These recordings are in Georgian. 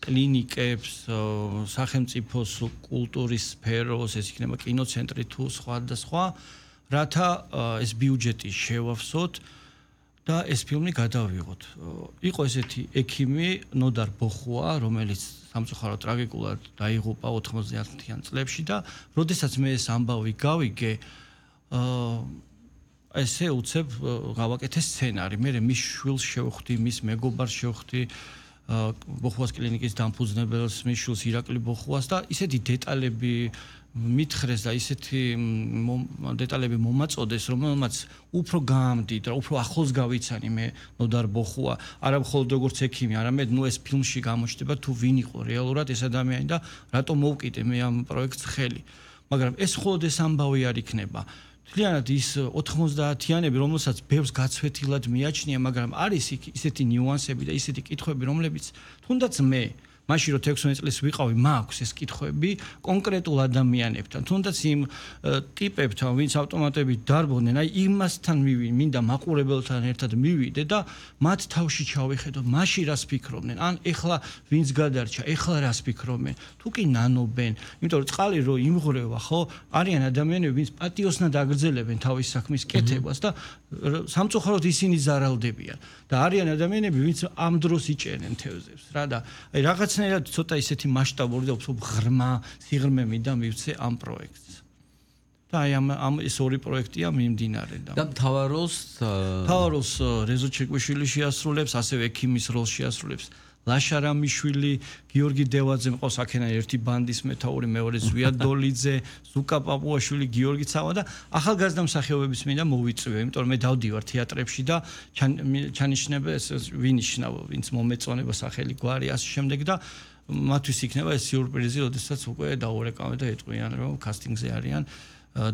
კლინიკებს, სახელმწიფოს კულტურის სფეროს, ეს იქნება კინოცენტრი თუ სხვა და სხვა, რათა ეს ბიუჯეტი შევავსოთ და ეს ფილმი გადავიღოთ. იყო ესეთი ექიმი ნოდარ ბოხუა, რომელიც სამწუხაროდ ტრაგიკულად დაიღუპა 90-იან წლებში და როდესაც მე ეს ამბავი გავიგე, ესე უცებ გავაკეთე სცენარი. მე მის შვილს შევხვდი, მის მეგობარს შევხვდი, ბოხუას კლინიკის დამფუძნებელს, მის შვილს ირაკლი ბოხუას და ისეთი დეტალები მითხრეს და ისეთი დეტალები მომაწოდეს, რომელმაც უფრო გაამდიდრა, უფრო ახლოს გავიცანი მე ნოდარ ბოხუა, არა მხოლოდ როგორც ექიმი, არამედ ეს ფილმში გამოჩნდება თუ ვინ იყო რეალურად ეს ადამიანი და რატომ მოვკიდე მე ამ პროექტს ხელი. მაგრამ ეს მხოლოდ ეს ამბავი არ იქნება. თლიანად ის 90-იანები, რომელსაც ბევრს გაცვეთილად მიაჩნია, მაგრამ არის ისეთი ნიუანსები და ისეთი კითხვები, რომლებიც თუნდაც მე მაშინ რო 16 წლის ვიყავი, მაქვს ეს კითხვები კონკრეტულ ადამიანებთან, თუნდაც იმ ტიპებთან, ვინც ავტომატებით დარბოდნენ, აი იმასთან მინდა მაყურებელთან ერთად მივიდე და მათ თავში ჩავიხედო, მაშინ რას ფიქრობდნენ, ან ეხლა ვინც გადარჩა, ეხლა რას ფიქრობენ, თუ კი ნანობენ, იმიტომ რომ წყალი რო იმღრევა, ხო, არიან ადამიანები, ვინც პატიოსნად აგრძელებენ თავის საქმის კეთებას და სამწუხაროდ ისინი ზარალდებიან და არიან ადამიანები, ვინც ამ დროს იჭერენ თევზებს, რა და აი რაღაცნაირად ცოტა ისეთი მასშტაბური და უფრო ღრმა სიღრმე მინდა მივცე ამ პროექტს. და აი ამ ეს ორი პროექტია მიმდინარე და მთავარ როლს რეზო ჩეკვიშვილი შეასრულებს, ასევე ექიმის როლს შეასრულებს ლაშა რამიშვილი, გიორგი დევაძე მყავს აქედან ერთი ბანდის მეთაური, მეორე ზვია დოლიძე, ზუკა პაპუაშვილი, გიორგი ცავა და ახალგაზრდა მსახიობების მინდა მოვიწვევ, იმიტომ რომ მე დავდივარ თეატრებში და ჩანიშნებ ვინიშნავ, ვინც მომეწონება სახელი გვარი ასე შემდეგ და მათთვის იქნება ეს სიურპრიზი, როდესაც უკვე დაურეკავენ და ეტყვიან რომ კასტინგზე არიან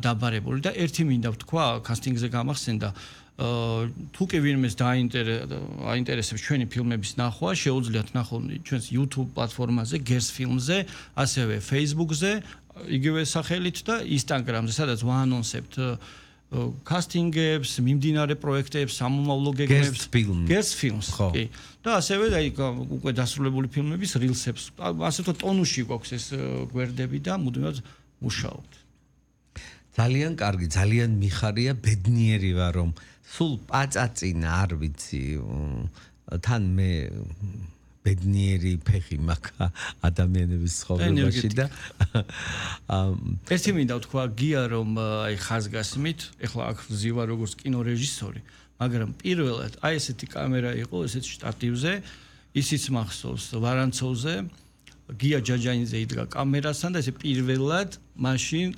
დაბარებული და ერთი მინდა ვთქვა, კასტინგზე გამახსენდა თუ კი ვინმეს აინტერესებს ჩვენი ფილმების ნახვა, შეუძლიათ ნახონ ჩვენს YouTube პლატფორმაზე, Gers Films-ზე, ასევე Facebook-ზე, იგივე სახელით და Instagram-ზე, სადაც ვაანონსებთ კასტინგებს, მიმდინარე პროექტებს, სამომავლო გეგმებს, Gers Films, კი. და ასევე აი უკვე დასრულებული ფილმების რილსებს, ასე თქო ტონუსში გვაქვს ეს გვერდები და მუდმივად მუშაობთ. ძალიან კარგი, ძალიან მიხარია, ბედნიერი ვარ რომ სულ პაწაწინა არ ვიცი თან მე ბედნიერი ფეხი მაქვს ადამიანების ცხოვრებაში და ერთი მინდა ვთქვა გია რომ აი ხაზგასმით ეხლა აქ ვზივა როგორც კინორეჟისორი, მაგრამ პირველად აი ესეთი კამერა იყო ესეთ შტატივზე, ისიც მახსოვს ვარანცოვზე, გია ჯაჯანიძე იდგა კამერასთან და ესე პირველად მაშინ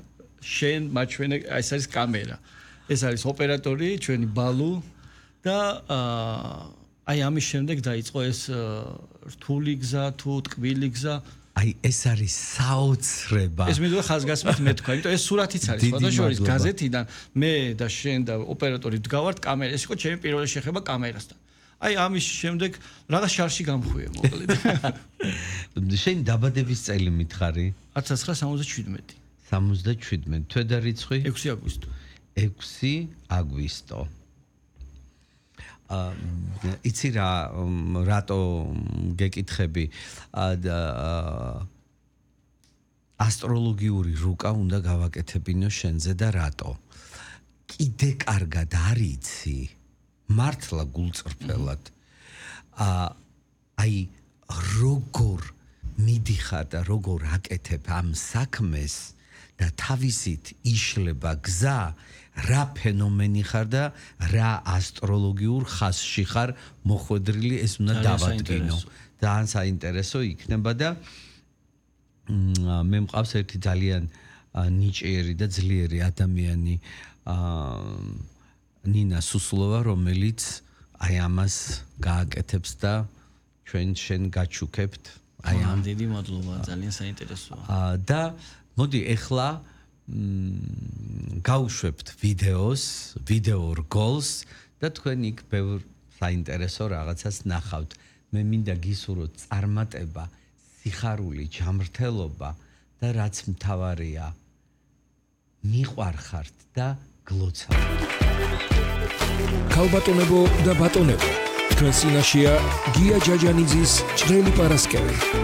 შენ მაჩვენე ეს არის კამერა. ეს არის ოპერატორი, ჩვენი ბალუ და აი ამის შემდეგ დაიწყო ეს რთული გზა თუ ტკბილი გზა. აი ეს არის საოცრება. ეს მიდღე ხაზგასმით მე თქვა, იმიტომ ეს სურათიც არის სხვადასხვა გაზეთიდან მე და შენ და ოპერატორი დგავართ კამერა. ეს იყო ჩემი პირველი შეხება კამერასთან. აი ამის შემდეგ რაღაც შარში გამხვია მოკლედ. შენ დაბადების წელი მითხარი? 1977. 77. თვედა რიცხვი? 6 აგვისტო. 6 აგვისტო. იცი რა რატო გეკითხები ასტროლოგიური რუკა უნდა გავაკეთებინო შენზე და რატო? კიდე კარგად არიცი მართლა გულწრფელად აი როგორ მიდიხარ და როგორ აკეთებ ამ საქმეს და თავისით იშლება გზა რა ფენომენი ხარ და რა ასტროლოგიურ ხაზში ხარ მოხვედრილი ეს უნდა დავადგინო. ძალიან საინტერესო იქნება და მე მყავს ერთი ძალიან ნიჭიერი და ძლიერი ადამიანი ნინა სუსლოვა, რომელიც აი ამას გააკეთებს და შენ გაჩუქებთ. აი ამ დიდი მადლობა, ძალიან საინტერესოა. და მოდი ეხლა გავუშვებთ ვიდეო რგოლს და თქვენ იქ ბევრ საინტერესო რაღაცას ნახავთ. მე მინდა გისურვოთ წარმატება, სიხარული, ჯანმრთელობა და რაც მთავარია, მიყვარხართ და გლოცავთ. ქალბატონებო და ბატონებო, თქვენ წინაშეა გია ჯაჯანიძის ჭრელი პარასკევი.